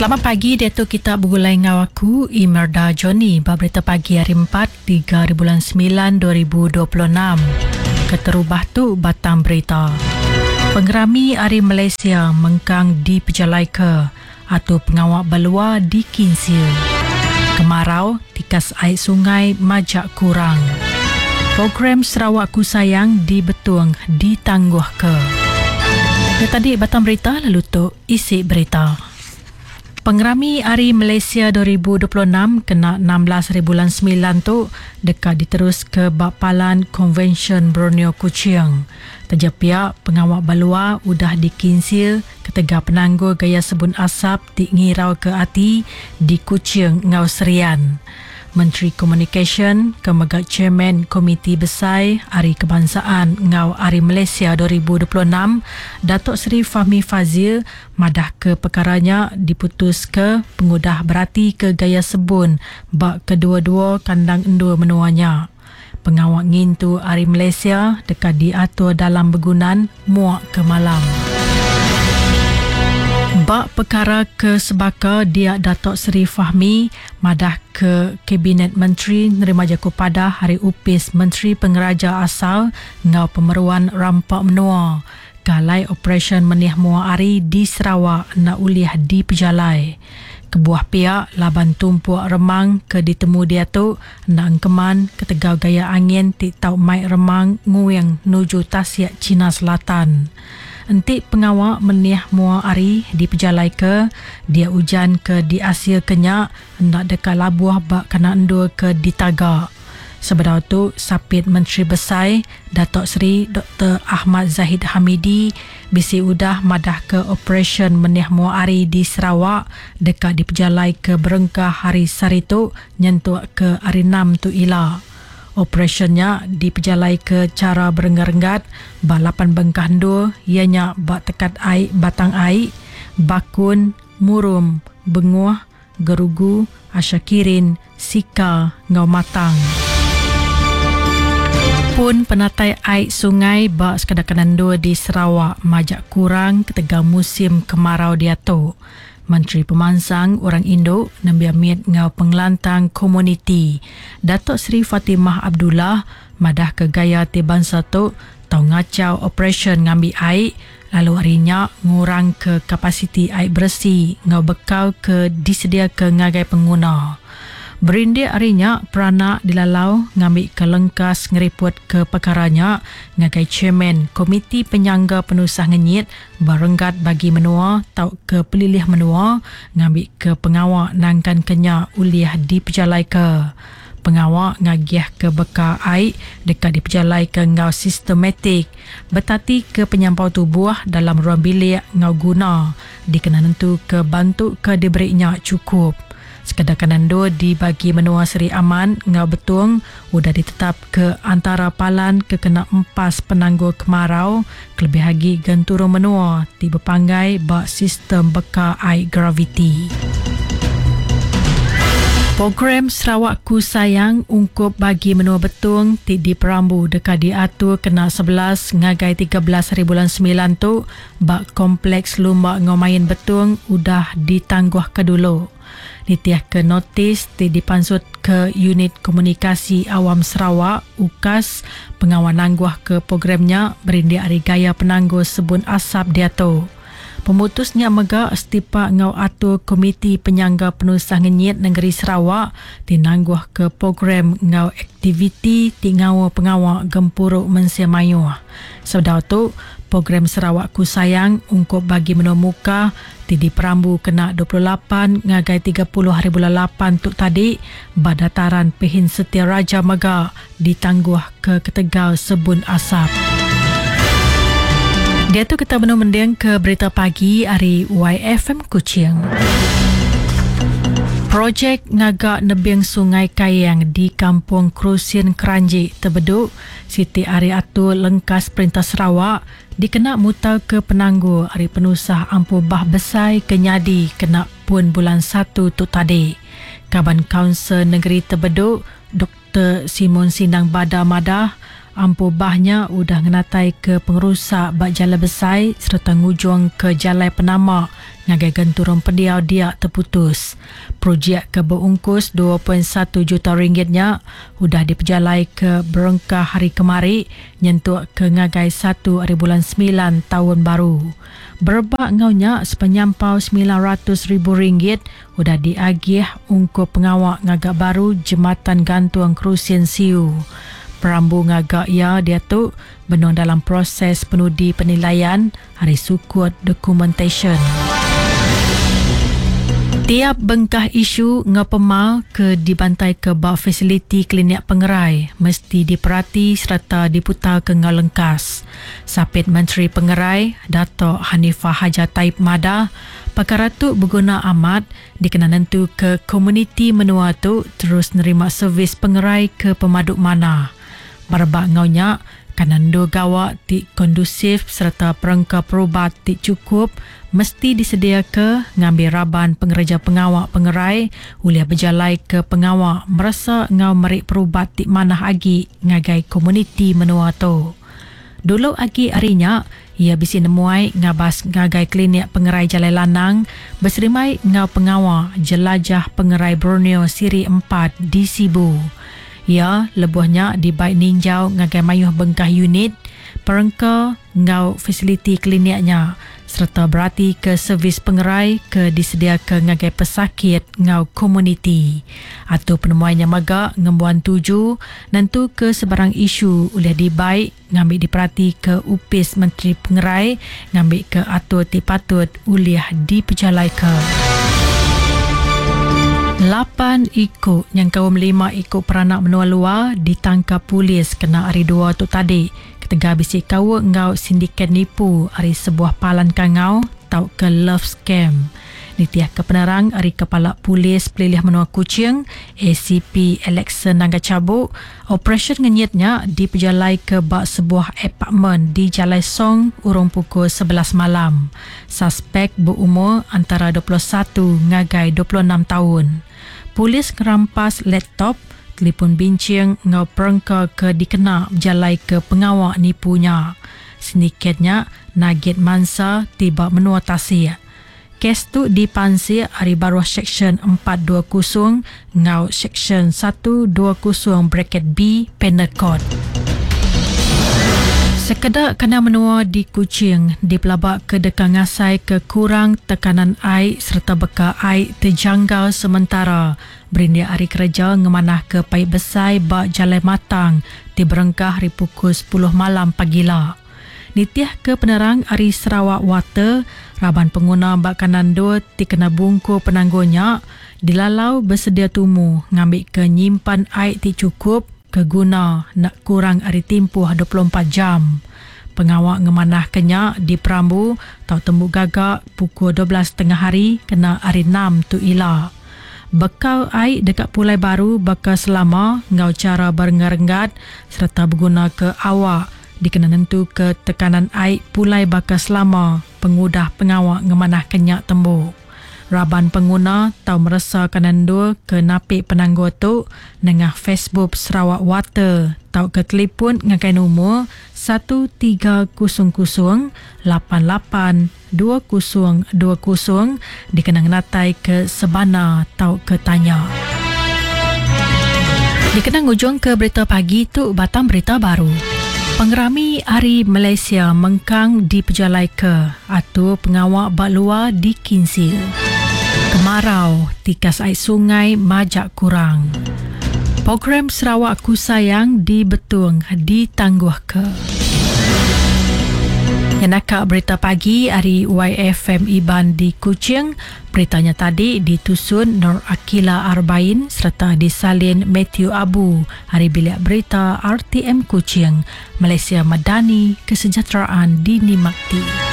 Selamat pagi diatu kita begulai enggau aku Imerda Johnny ba berita pagi hari 4 3 hari bulan 9 2026. Keterubah tu batang berita. Pengerami Hari Malaysia mengkang dipejalaika atur pengawa belua di Kinsil. Kemarau, tikas ai sungai majak kurang. Program Sarawakku Sayang di Betong ditangguhka. Nya tadi batang berita lalu tu isi berita. Pengerami Hari Malaysia 2026 kena 16 hari bulan semilan tu deka diteruska ba Palan Konvensyen Borneo Kuching. Taja pia, pengawa ba luar udah dikinsil ketegal penanggul gaya sebun asap ti ngirauka ati di Kuching enggau Serian. Menteri Komunikasyen ke mega Chairman Komiti Besai Hari Kebangsaan enggau Hari Malaysia 2026, Datuk Seri Fahmi Fadzil madahka pekara nya diputuska pengudah beratika gaya sebun ba kedua-dua kandang endur menua nya. Pengawa ngintu Hari Malaysia deka diatur dalam begunan muak ke malam. Ba pekara ke sebaka dia Datuk Seri Fahmi madahka Kabinet Menteri nerima jaku padah ari Opis Menteri Pengeraja Asal enggau Pemeruan Rampa Menua ke alai operasyen menih mua hari di Sarawak enda ulih dipejalai. Kebuah pia laban tumpuk remang ke ditemu diatu enda engkeman ketegal gaya angin ti tau mai remang nguing nuju Tasik China Selatan. Enti pengawa menih mua hari dipejalaika, dia ujan ke diasilka nya enda deka labuh ba kandang endur ke ditaga. Sebedau tu, Sapit Menteri Besai, Datuk Seri Doktor Ahmad Zahid Hamidi bisi udah madahka operasyen menih mua hari di Sarawak deka dipejalaika berengkah hari sehari tu nyentuk ke Hari Enam tu ila. Operasyen nya dipejalaika chara berenggat-renggat ba lapan bengkah endur iya nya ba Tekat Ai Batang Ai, Bakun, Murum, Benguh, Gerugu, Ashakirin, Sika enggau Matang. Pun penatai ai sungai ba sekeda kandang endur di Sarawak majak kurang ketegal musim kemarau diatu. Menteri Pemansang Orang Indu, Nembiak Mit enggau Pengelantang Komuniti, Datuk Seri Fatimah Abdullah madahka gaya ti bansa tu tau ngachau operasyen ngambi ai lalu ari nya ngurangka kapasiti ai beresi enggau bekal ke disediaka ngagai penguna. Berindik ari nya, peranak dilalau ngambika lengkas ngeripotka pekara nya ngagai chairman Komiti Penyangga Penusah Ngenyit ba renggat bagi menua tauka pelilih menua ngambika pengawa nangkanka nya ulih dipejalaika. Pengawa ngagihka bekal ai deka dipejalaika enggau sistematik, betatika penyampau tubuh dalam ruang bilik enggau guna dikena nentuka bantu ke diberi nya chukup. Sekeda kandang endur di bagi menua Sri Aman enggau Betong udah ditetapka antara palan ke kena empas penanggul kemarau kelebih agi genturung menua ti bepanggai ba sistem beka ai graviti. Program Sarawakku Sayang ungkup bagi menua Betong ti diperambu deka diatur kena 11 ngagai 13 haribulan semilan tu ba Kompleks Lumba enggau Main Betong udah ditangguhka dulu. Nitihka notis ti dipansutka Unit Komunikasi Awam Sarawak, UKAS, pengawa nangguhka program nya berindik ari gaya penanggul sebun asap diatu. Pemutus nya mega setipak enggau atur Komiti Penyangga Penusah Ngenyit Nengeri Sarawak ti nangguhka program enggau aktiviti ti ngaul pengawa gempuru mensia mayuh. Sebedau tu, program Sarawakku Sayang ungkup bagi menua Mukah ti diperambu kena 28 ngagai 30 haribulan lapan tu tadi ba Dataran Pehin Setia Raja mega ditangguhka ketegal sebun asap. Diatu kita benung mendingka berita pagi ari YFM Kuching. Projek ngaga nebing Sungai Kayang di Kampung Krusin Keranji, Tebedu, Siti ari atur lengkas Perintah Sarawak dikena mutarka penanggul ari penusah ampuh bah besai ke nyadi kena pun bulan satu tu tadi. Kaban Kaunsil Nengeri Tebedu, Doktor Simon Sindang Bada madah, Ampuh bah nya udah ngenataika pengerusak ba jalai besai sereta ngujungka jalai penama ngagai genturung pendiau dia teputus. Projek ke beungkus 2.1 juta ringgit nya udah dipejalaika berengkah hari kemari nyentuk ke ngagai satu ari bulan semilan taun baru. Berebak enggau nya, sepenyampau 900 ribu ringgit udah diagih ungkup pengawa ngaga baru Jematan Gantung Kerusin Siu. Perambu ngaga iya diatu benung dalam proses penudi penilaian ari sukut dokumentasyen. Tiap bengkah isu enggau pemar ke dibantaika ba fasiliti klinik pengerai mesti diperati sereta diputarka enggau lengkas. Sapit Menteri Pengerai, Datuk Hanifah Hajar Taib madah, pekara tu beguna amat dikena nentuka komuniti menua tu terus nerima servis pengerai ke pemadu manah. Berebak enggau nya, kandang endur gawa ti kondusif sereta perengka perubat ti chukup mesti disediaka ngambi raban pengereja pengawa pengerai ulih bejalaika pengawa meresa enggau meri perubat ti manah agi ngagai komuniti menua tu. Dulu agi ari nya, iya bisi nemuai ngabas ngagai Klinik Pengerai Jalai Lanang beserimbai enggau pengawa Jelajah Pengerai Borneo Siri empat di Sibu. Iya lebuh nya dibai ninjau ngagai mayuh bengkah unit, perengka enggau fasiliti klinik nya sereta beratika servis pengerai ke disediaka ngagai pesakit enggau komuniti. Atur penemuai nya mega ngembuan tuju nentuka sebarang isu ulih dibai ngambi diperatika Opis Menteri Pengerai ngambika atur ti patut ulih dipejalaika. Lapan iku nyengkaum lima iku peranak menua luar ditangkap polis kena Hari Dua tu tadi ketegal bisi kaul enggau sindiket nipu ari sebuah palan kangau tauka love scam. Nitihka penerang ari Kepala Polis Pelilih Menua Kuching, ACP Alexson Nangga Chabuk, operasyen ngenyit nya dipejalaika ba sebuah apartmen di Jalai Song urung pukul 11 malam. Saspek beumur antara 21 ngagai 26 taun. Polis ngerampas laptop, telefon binching enggau perengka ke dikena bejalaika pengawa nipu nya. Sindiket nya nagit mansa ti ba menua tasik. Kes tu dipansik ari baruh Seksyen 420 enggau Seksyen 120 bracket B Penal Code. Sekeda kandang menua di Kuching dipelabaka deka ngasaika kurang tekanan ai sereta beka ai tejanggal sementara berindik ari kereja ngemanahka paip besai ba Jalai Matang ti berengkah ari pukul 10 malam pagila. Nitihka penerang ari Sarawak Water, raban penguna ba kandang endur ti kena bungkur penanggul nya dilalau besedia tumu ngambika nyimpan ai ti chukup ke guna enda kurang ari timpuh 24 jam. Pengawa ngemanahka nya diperambu tau tembu gaga pukul 12 tengah hari kena Hari Enam tu ila. Bekal ai deka pulai baru baka selama enggau chara berenggat-renggat sereta begunaka awak dikena nentuka tekanan ai pulai baka selama pengudah pengawa ngemanahka nya tembu. Raban penguna tau meresa kanan endur ke napi penanggul tu nengah Facebook Sarawak Water tauka telipun ngagai numur 1300 88 2020 dikena ngenataika sebana tauka tanya. Dikena ngujungka berita pagi tu batang berita baru. Pengerami Hari Malaysia mengkang dipejalaika atur pengawa ba luar dikinsil. Kemarau, tikas ai sungai majak kurang. Program Sarawak Ku Sayang di Betong ditangguhka. Nyenaka berita pagi ari YFM Iban di Kuching. Berita nya tadi ditusun Nur Akila Arbain sereta disalin Mathew Abu ari Bilik Berita RTM Kuching. Malaysia Madani, Kesejahteraan Dinikmati.